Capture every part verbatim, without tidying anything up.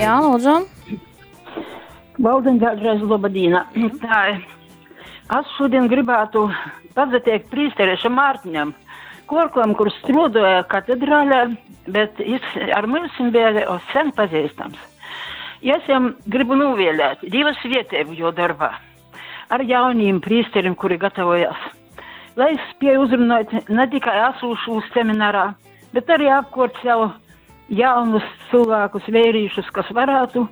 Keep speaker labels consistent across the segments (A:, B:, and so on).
A: Jā, lūdzu.
B: Valdiņ, vēlreiz laba dīna. Tā, es šodien gribētu pateikt prīsterieša Mārtiņam, Korklam, kurš strādāja katedrālē, bet jis ar mums bija jau sen pazīstams. Es jam gribu novēlēt Dieva svētību jo darbā ar jauniem prīsteriem, kuri gatavojas. Lai es spēju uzrunāt ne tikai esošos seminārā, bet arī apkort sev jaunus cilvēkus, vērīšus, kas varētu,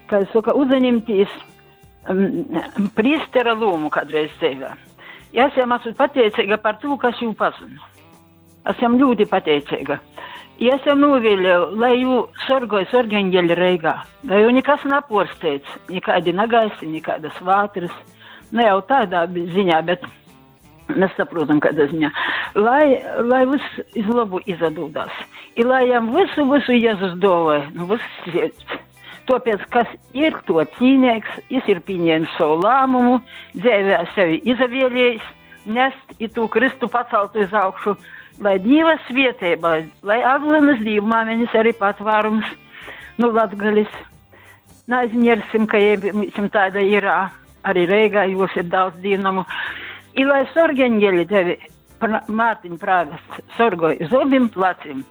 B: kā es saku, uzņemties um, priestera lomu kādreiz dzīvē. Ja es jām esmu pateicīga par to, kas jū pazinu. Es jām ļoti pateicīga. Ja es jām novēlēju, lai jū sorgoja sorgeņģeļi Reigā, lai jū nekas naporsteidz, nekādi nagaisi, nekādas vātras, ne jau tādā ziņā, bet mēs saprotam, kādā ziņā. Lai, lai viss iz labu izadūdās. I lai jam visu, visu Jēzus dāvāja, nu viss sirds. Tāpēc, kas ir to cīnīgs, jis ir pieņēmis savu lēmumu, dzīvē sevi izavēlējis, nest i tū Kristu paceltu iz augšu, lai Dieva svētība, lai Aglonas Dievmāmeņas arī patvārums, nu, Latgalis. Neaizmirsim, ka jiem tāda ir, arī Reigā jūs ir daudz dīnamu. I lai sorgeņģeļi tevi, Mārtiņ prāvests, sorgoj uz abiem pleciem.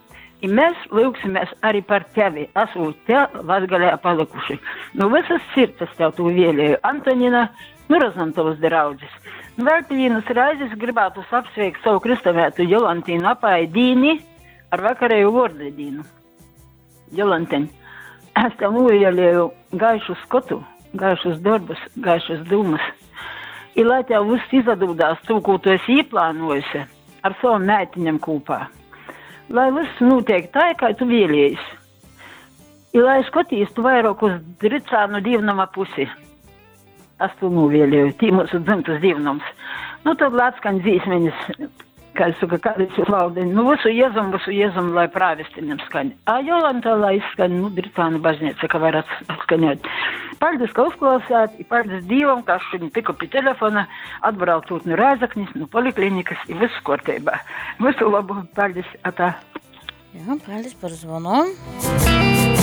B: I mēs lūgsimies arī par tevi, esot te Latgalē palikuši. Nu visas sirds es tev to vēlēju. Antonina, nu Rozantovas draudzes. Nu, vēl pie vienas reizes gribētu apsveikt savu kristamētu Jolantīnu Apaidīni ar vakarēju vārdadīnu. Jolantiņ, es tev novēlēju gaišu skotu, gaišus darbus, gaišas dūmas. I lai tev viss izadūdās to, ko tu esi ieplānojusi ar savam meitiņam kopā. Lai viss notiek tā, kā tu vēlies. I lai skatīs tu vairāk uz Dricānu dievnama pusi. Es to novēlēju, tī mūsu dzimtas dievnams. Nu, tad lai atskan dzīsmeņas, kā es saku, kādas jūs valdiņ. Nu, visu Jēzum, visu Jēzum, lai prāvestiņam skan. A Jolanta, lai izskan, nu, Dricānu baznīca, ka var atskaņot. Paldies, ka uzklausāt, i paldies Dievam, ka es šodien tiku pie telefona, atbraucot no Rēzaknis, no poliklinikas, i viss kārtībā. Visu labu, paldies, atā.
A: Jā, paldies par zvanu.